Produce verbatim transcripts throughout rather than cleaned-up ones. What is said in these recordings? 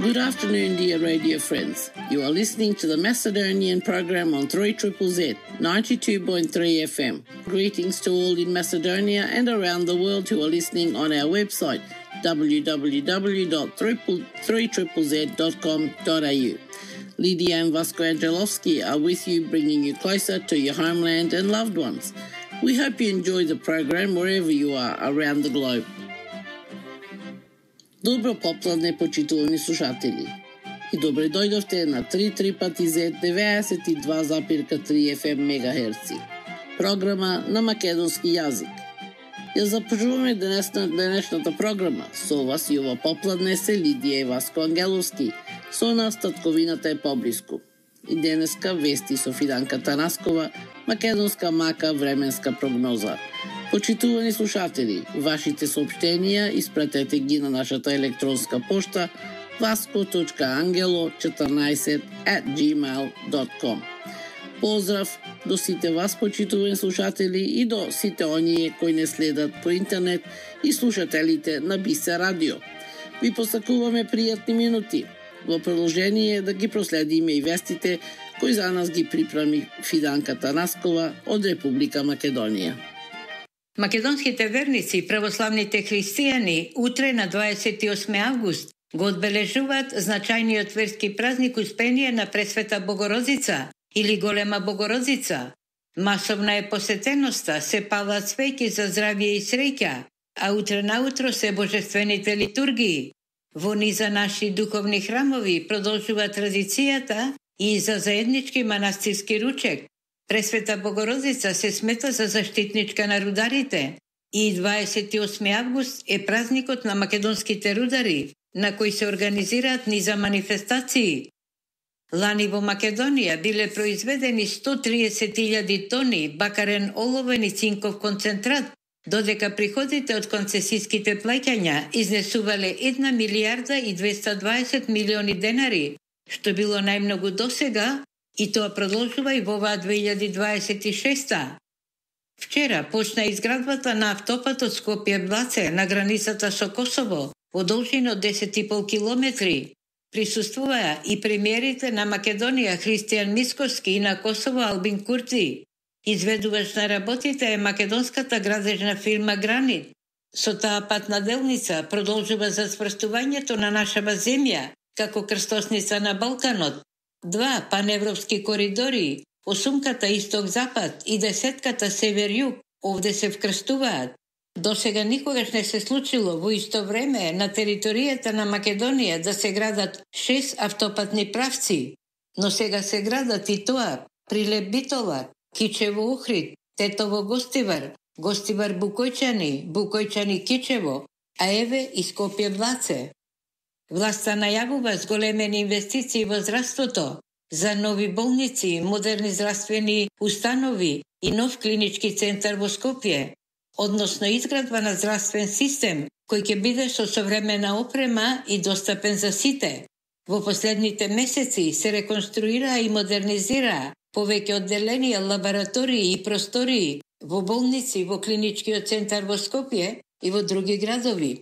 Good afternoon, dear radio friends. You are listening to the Macedonian program on three Z Z Z, ninety-two point three F M. Greetings to all in Macedonia and around the world who are listening on our website, w w w dot three z z z dot com dot a u. Lydia and Vasco Angelovski are with you, bringing you closer to your homeland and loved ones. We hope you enjoy the program wherever you are around the globe. Добро попладне, почитувани слушатели. И добре дојдовте на три три пати Z деветдесет и два запирка три F M мегахерци. Програма на македонски јазик. Ја започнуваме денесна денешната програма. Со вас и ова попладне се Лидија и Васко Ангеловски. Со нас татковината е поблиску. И денеска вести со Фиданка Танаскова, македонска мака временска прогноза. Почитувани слушатели, вашите сообщенија испратете ги на нашата електронска пошта vasco точка angelo четрнаесет at gmail dot com. Поздрав до сите вас, почитувани слушатели, и до сите оние кои не следат по интернет и слушателите на Бисе радио. Ви посакуваме пријатни минути. Во продолжение да ги проследиме и вестите кои за нас ги припреми Фиданка Танаскова од Република Македонија. Македонските верници, православните христијани, утре на дваесет и осми август го одбележуваат значајниот верски празник Успение на Пресвета Богородица или Голема Богородица. Масовна е посетеноста, се палат свеќи за здравје и среќа, а утре наутро се божествените литургии. Во низа наши духовни храмови продолжува традицијата и за заеднички манастирски ручек. Пресвета Богородица се смета за заштитничка на рударите и дваесет и осми август е празникот на македонските рудари, на кој се организираат низа манифестации. Лани во Македонија биле произведени сто триесет илјади тони бакарен оловен и цинков концентрат, додека приходите од концесиските плаќања изнесувале една милијарда и двеста дваесет милиони денари, што било најмногу досега, и тоа продолжува и во оваа две илјади дваесет и шеста. Вчера почна изградбата на автопатот Скопје-Блаце на границата со Косово, во должина од десет и пол километри. Присуствуваа и премиерите на Македонија Христијан Мицкоски и на Косово Албин Курти. Изведувач на работите е македонската градежна фирма Гранит. Со таа патна делница продолжува за сврстувањето на нашава земја како крстосница на Балканот. Два паневропски коридори, осумката исток-запад и десетката север-југ, овде се вкрстуваат. До сега никогаш не се случило во исто време на територијата на Македонија да се градат шест автопатни правци, но сега се градат и тоа Прилеп Битола, Кичево Ухрид, Тетово Гостивар, Гостивар Букојчани, Букојчани Кичево, а еве и Скопје Блаце. Власта најавува зголемени инвестиции во здравството, за нови болници, модерни здравствени установи и нов клинички центар во Скопје, односно изградба на здравствен систем кој ќе биде со современа опрема и достапен за сите. Во последните месеци се реконструира и модернизира повеќе одделенија, лаборатории и простории во болници, во клиничкиот центар во Скопје и во други градови.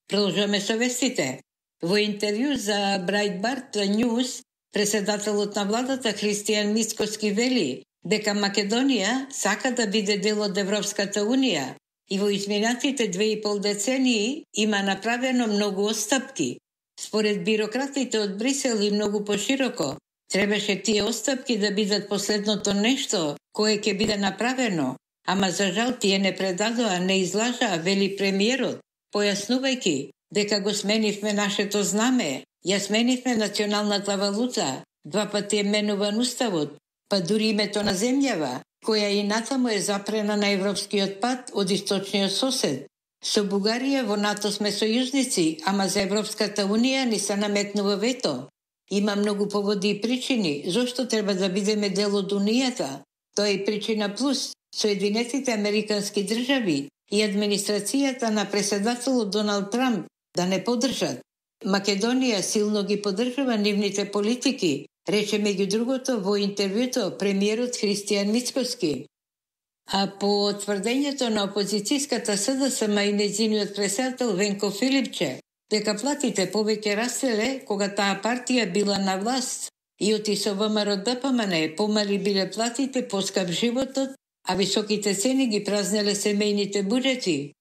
Продолжуваме со вестите. Во интервју за Breitbart News, председателот на владата Христијан Мицкоски вели дека Македонија сака да биде дел од Европската Унија и во изминатите две и пол децении има направено многу отстапки. Според бирократите од Брисел и многу пошироко, требаше тие отстапки да бидат последното нешто кое ќе биде направено, ама за жал тие не предадоа, не излажаа, вели премиерот, појаснувајќи дека го сменивме нашето знаме, ја сменивме националната валута, два пати е менуван уставот, па дури името на земјава, која и натаму е запрена на европскиот пат од источниот сосед. Со Бугарија во НАТО сме сојузници, ама за Европската Унија ни се наметнува вето. Има многу поводи и причини зошто треба да бидеме дел од Унијата. Тоа е причина плюс Соединетите Американски држави и администрацијата на председателот Доналд Трамп да не подржат. Македонија силно ги поддржува нивните политики, рече меѓу другото во интервјуто премиерот Христијан Мицкоски. А по тврдењето на опозицијската СДСМ и нејзиниот председател Венко Филипче, дека платите повеќе раселе кога таа партија била на власт и оти со ВМРО-ДПМН помали биле платите, поскап животот, а високите цени ги празнеле семејните буџети.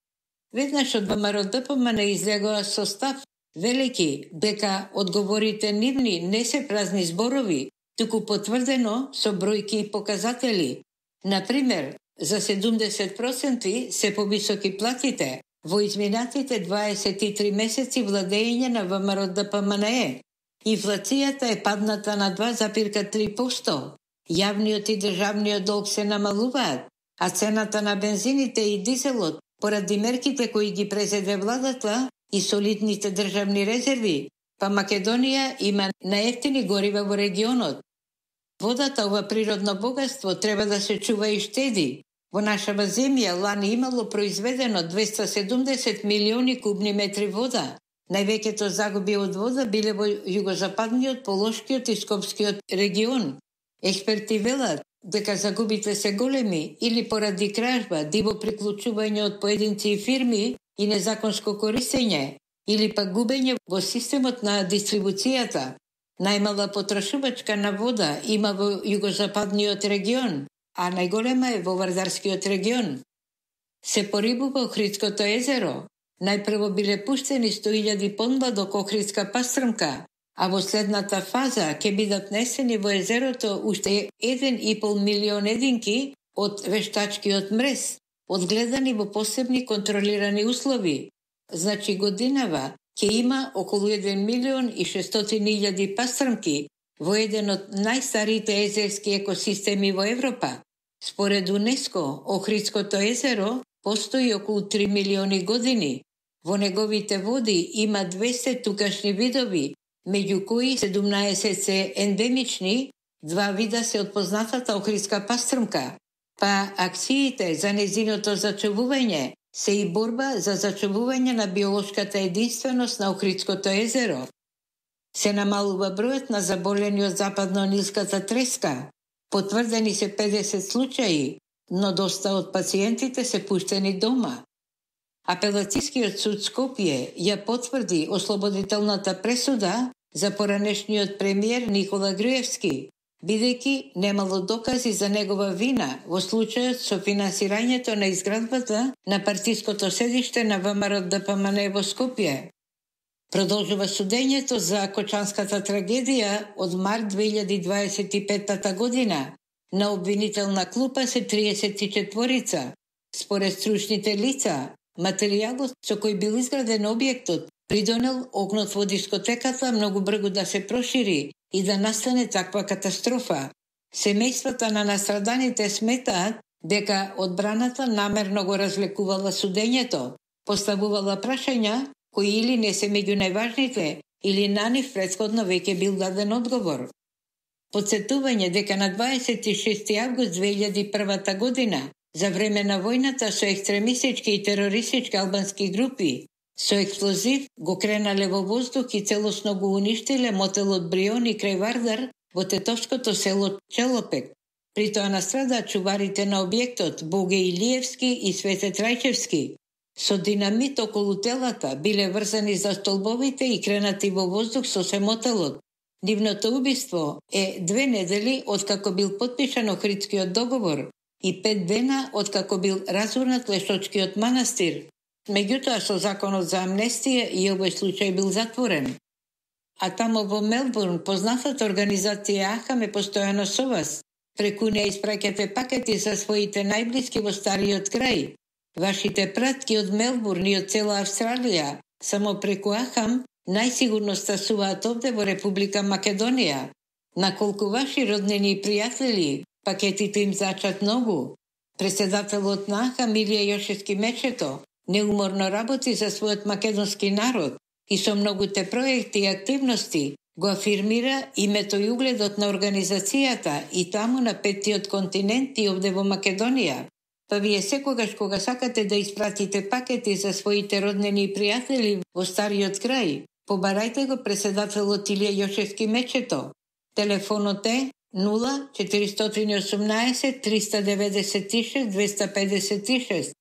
Веднаш од ВМРО-ДПМН излегоа со став велики дека одговорите нивни не се празни зборови, туку потврдено со бројки и показатели. Например, за седумдесет проценти се повисоки платите во изминатите дваесет и три месеци владење на ВМРО-ДПМН. Инфлацијата е падната на два зарез и три проценти. Јавниот и државниот долг се намалуваат, а цената на бензините и дизелот, поради мерките кои ги презеде владата и солидните државни резерви, па Македонија има најевтини горива во регионот. Водата, ова природно богатство, треба да се чува и штеди. Во нашава земја лани имало произведено двеста седумдесет милиони кубни метри вода. Највеќето загуби од вода биле во југозападниот, Полошкиот и Скопскиот регион. Експерти велат дека загубите се големи или поради кражба, диво приклучување од поединци и фирми и незаконско користење, или пак губење во системот на дистрибуцијата. Најмала потрошувачка на вода има во југозападниот регион, а најголема е во Вардарскиот регион. Се порибува Охридското езеро. Најпрво биле пуштени сто илјади понбадок охридска пастрмка, а во следната фаза ќе бидат несени во езерото уште еден и пол милион единки од вештачкиот мрез, одгледани во посебни контролирани услови. Значи годинава ќе има околу еден милион и шестстотини илјади пастрмки во еден од најстарите езерски екосистеми во Европа. Според УНЕСКО, Охридското езеро постои околу три милиони години. Во неговите води има двесте тукашни видови, меѓу кои седумнаесет се ендемични, два вида се од познатата охридска пастрмка. Па акциите за незиното зачувување се и борба за зачувување на биолошката единственост на Охридското езеро. Се намалува бројот на заболени од западно-нилската треска. Потврдени се педесет случаи, но доста од пациентите се пуштени дома. Апелацијскиот суд Скопје ја потврди ослободителната пресуда за поранешниот премиер Никола Груевски, бидејќи немало докази за негова вина во случајот со финансирањето на изградбата на партиското седиште на ВМРО-ДПМН во Скопје. Продолжува судењето за Кочанската трагедија од март две илјади дваесет и петта година. На обвинителна клупа се триесет и четворица. Според стручните лица, материјалот со кој бил изграден објектот придонел огнот во дискотеката многу брзо да се прошири и да настане таква катастрофа. Семејствата на настраданите сметаат дека одбраната намерно го развлекувала судењето, поставувала прашања кои или не се меѓу најважните, или на нив претходно веќе бил даден одговор. Подсетување дека на дваесет и шести август две илјади и прва година, за време на војната со екстремистички и терористички албански групи, со експлозив го кренале во воздух и целосно го уништиле мотелот Бриони крај Вардар во тетовското село Челопек. При тоа настрадаат чуварите на објектот Боге Илиевски и Свете Трајчевски. Со динамит околу телата биле врзани за столбовите и кренати во воздух со семотелот. Нивното убиство е две недели откако бил потпишан Охридскиот договор и пет дена откако бил разурнат Лешочкиот манастир. Меѓутоа со законот за амнестија и овој случај бил затворен. А тамо во Мелбурн познатата организација АХАМ е постојано со вас. Преку неја испраќате пакети за своите најблиски во стариот крај. Вашите пратки од Мелбурн и од цела Австралија, само преку АХАМ, најсигурно стасуваат овде во Република Македонија. Наколку ваши роднини и пријатели, пакетите им зачат многу. Председателот на АХАМ Илија Јошевски Мечето неуморно работи за својот македонски народ и со многуте проекти и активности го афирмира името и угледот на организацијата и таму на петтиот континент и овде во Македонија. Па вие секогаш кога сакате да испратите пакети за своите роднини и пријатели во стариот крај, побарајте го председателот Илија Јошевски Мечето. Телефонот е нула четиристотини и осумнаесет триста деветдесет и шест двеста педесет и шест.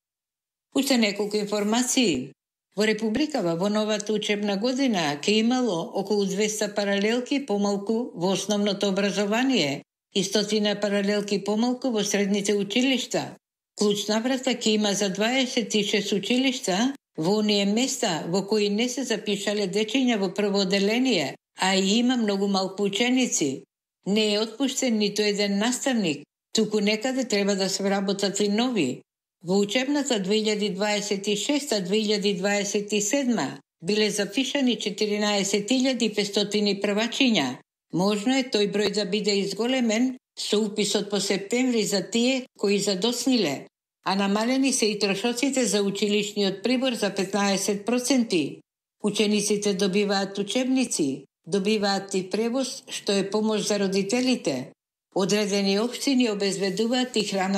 Уште неколку информации. Во Републикава во новата учебна година ќе имало околу двеста паралелки помалку во основното образование и стотина паралелки помалку во средните училишта. Клучна врата ќе има за дваесет и шест училишта во оние места во кои не се запишале дечиња во прво оделение, а и има многу малку ученици. Не е отпуштен ниту еден наставник, туку некаде треба да се вработат и нови. Во учебната две илјади дваесет и шеста две илјади дваесет и седма биле запишани четиринаесет илјади петстотини првачиња. Можно е тој број да биде изголемен со уписот по септември за тие кои задосниле, а намалени се и трошоците за училишниот прибор за петнаесет проценти. Учениците добиваат учебници, добиваат и превоз, што е помош за родителите. Одредени општини обезбедуваат и храна